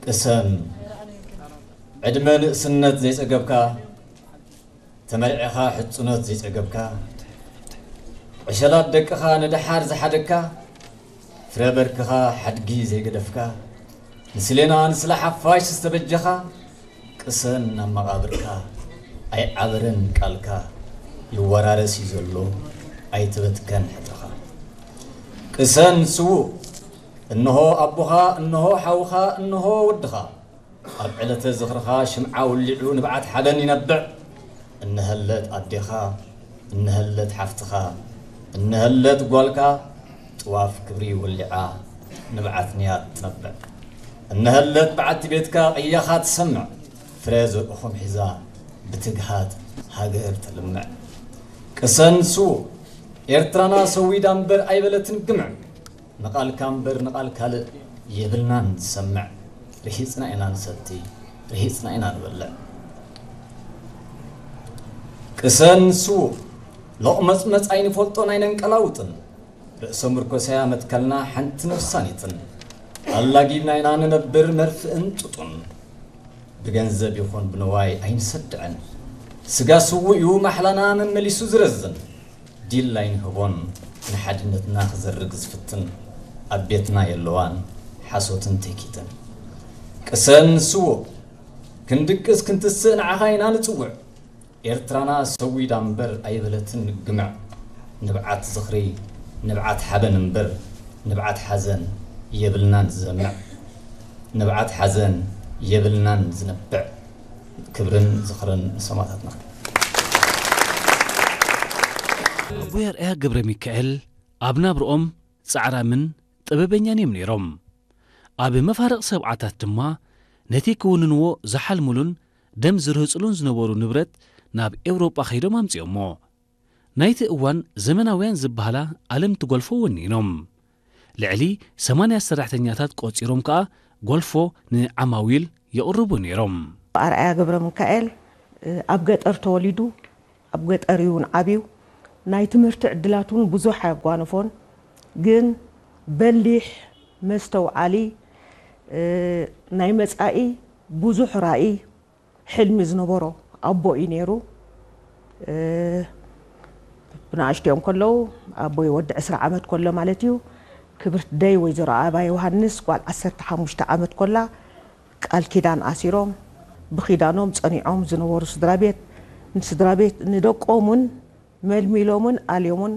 ቅሰን ዕድመ ንእስነት ዘይጸገብካ፣ ተመርዕኻ ሕጽኖት ዘይጸገብካ፣ ዕሸላት ደቅኻ ንደሓር ዝሓደግካ፣ ፍረ በርክኻ ሓድጊ ዘይገደፍካ፣ ንስሌና ንስለ ሓፋሽ ዝተበጀኻ፣ ቅሰን ናብ መቓብርካ፣ ኣይዓበረን ቃልካ፣ ይወራረስ እዩ ዘሎ፣ ኣይተበትከን ሕድርኻ። ቅሰን ስዉእ፣ እንሆ ኣቦኻ፣ እንሆ ሓውኻ፣ እንሆ ወድኻ፣ ኣብ ዕለተ ዝኽርኻ ሽምዓ ውሊዑ ንብዓት ሓበን ይነብዕ። እነሀለት ኣዴኻ፣ እነሀለት ሓፍትኻ፣ እነሀለት ጓልካ፣ ጥዋፍ ክብሪ ወሊዓ ንብዓት ንያት ትነብዕ። እነሀለት በዓቲ ቤትካ ቅያኻ ትሰምዕ፣ ፍረ ዘርእኹም ሒዛ ብትግሃት ሃገር ተልምዕ። ቅሰን ስዉእ፣ ኤርትራና ሰዊዳ እምበር ኣይበለትን ግምዕ። ንቓልካ እምበር ንቓል ካልእ የብልናን ዝሰምዕ። ርሂጽና ኢና ንሰቲ፣ ርሂጽና ኢና ንበልዕ። ቅሰን ስዉእ፣ ሎቕመጽመጽ ኣይንፈልጦን ኣይነንቀላውጥን። ርእሰ ምርኮሳያ መትከልና ሓንቲ ነፍሳኒትን። ኣላጊብና ኢና ንነብር መርፍእን ጡጡን። ብገንዘብ ይኹን ብንዋይ ኣይንሰድዕን። ስጋ ስዉእ እዩ ማሕላና መመሊሱ ዝረዝን። ዲል ኣይንህቦን ንሓድነትና ክዘርግ ዝፍትን። ኣብ ቤትና የለዋን ሓሶትን ትህኪትን። ቅሰን ስዉእ፣ ክንድቅስ ክንትስእ ንዓኻ ኢና ንጽውዕ። ኤርትራና ሰዊዳ እምበር ኣይበለትን ግምዕ። ንብዓት ዝኽሪ፣ ንብዓት ሓበን እምበር ንብዓት ሓዘን የብልናን ዝዘምዕ። ንብዓት ሓዘን የብልናን ዝነብዕ። ክብርን ዝኽርን ንሰማእታትና። ኣቦይ ኣርኣያ ገብረ ሚካኤል ኣብ ናብርኦም ጻዕራምን ጥበበኛን እዮም ነይሮም። ኣብ መፋርቕ ሰብዓታት ድማ ነቲ ክውንንዎ ዝሓልሙሉን ደም ዝርህጽሉን ዝነበሩ ንብረት ናብ ኤውሮጳ ከይዶም ኣምጺኦሞ። ናይቲ እዋን ዘመናውያን ዝበሃላ ኣለምቲ ጎልፎ ወኒኖም። ልዕሊ ሰማንያ ሰራሕተኛታት ቆጺሮም ከኣ ጎልፎ ንዓማዊል የቕርቡ ነይሮም። ኣርኣያ ገብረ ሚካኤል፣ እ፣ ኣብ ገጠር ተወሊዱ፣ ኣብ ገጠር እውን ዓብዩ። ናይ ትምህርቲ ዕድላት እውን ብዙሕ ኣያጓነፎን፣ ግን በሊሕ፣ መስተውዓሊ፣ እ፣ ናይ መጻኢ ብዙሕ ራኢ፣ ሕልሚ ዝነበሮ ኣቦ እዩ ነይሩ። እ፣ ብንኣሽትኦም ከለዉ፣ ኣቦይ ወዲ ዕስራ ዓመት ከሎ ማለት እዩ፣ ክብርቲ ደይ ወይዘሮ ኣበባ ዮሃንስ ጓል ዓሰርተ ሓሙሽተ ዓመት ኮላ ቃል ኪዳን ኣሲሮም፣ ብኪዳኖም ጸኒዖም ዝነበሩ ስድራ ቤት፣ ንስድራ ቤት፣ ንደቆምን መልሚሎምን ኣልዮምን